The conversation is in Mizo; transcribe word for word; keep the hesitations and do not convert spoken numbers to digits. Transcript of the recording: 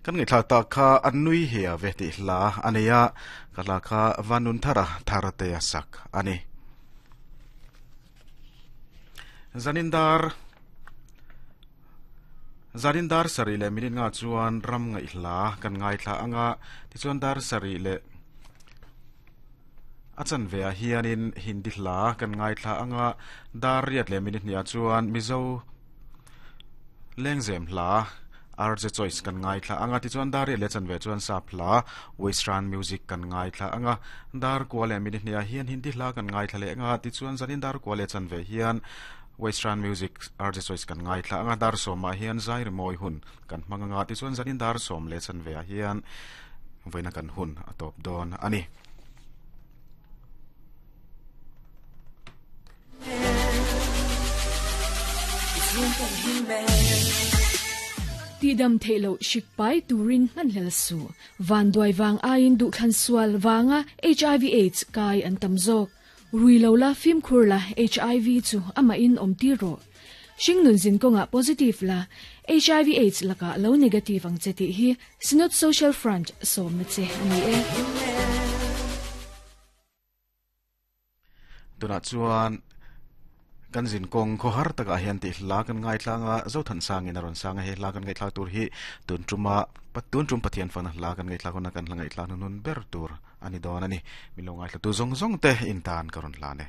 Kan ngai thla ta kha an nui hi a ve ti hla ania ka hla kha vanun thara thara te sak ani. Zanindar Zanindar sari le minin nga chuan ram ngai hla kan ngai thla anga ti chuan dar sari le achan ve a hianin hindi hla kan ngai thla anga dar riat le minute nia chuan mizo lengzem hla R J Choice kan ngai thla anga ti chuan dar riat le chan ve chuan sap hla western music kan ngai thla anga dar kwa le minute nia hian hindi hla kan ngai thla le anga ti chuan zanin dar kwa le chan ve hian western music R J Choice kan ngai thla anga dar soma hian zai moi hun kan manganga ti chuan zanin dar som le chan ve hian voina kan hun atop don ani. Ti dam thelo shikpai turin man hel su van doi wang ain du khan sual wanga H I V AIDS kai an tamzok ruilo la phim khur la H I V chu ama in om ti ro shingnun zin konga positive la H I V AIDS laka lo negative ang cheti hi Synod Social Front som na che ani e. Tuna chuan kan zin kong kho har taka hian ti hla kan ngai thlanga zo than sang in aron sanga he hla kan ngai thla tur hi tun tuma patun tum pathian fan hla kan ngai thla kona kan hla ngai thla nun ber tur ani don ani milo ngai thla tu zong zong te in tan karon hla ne.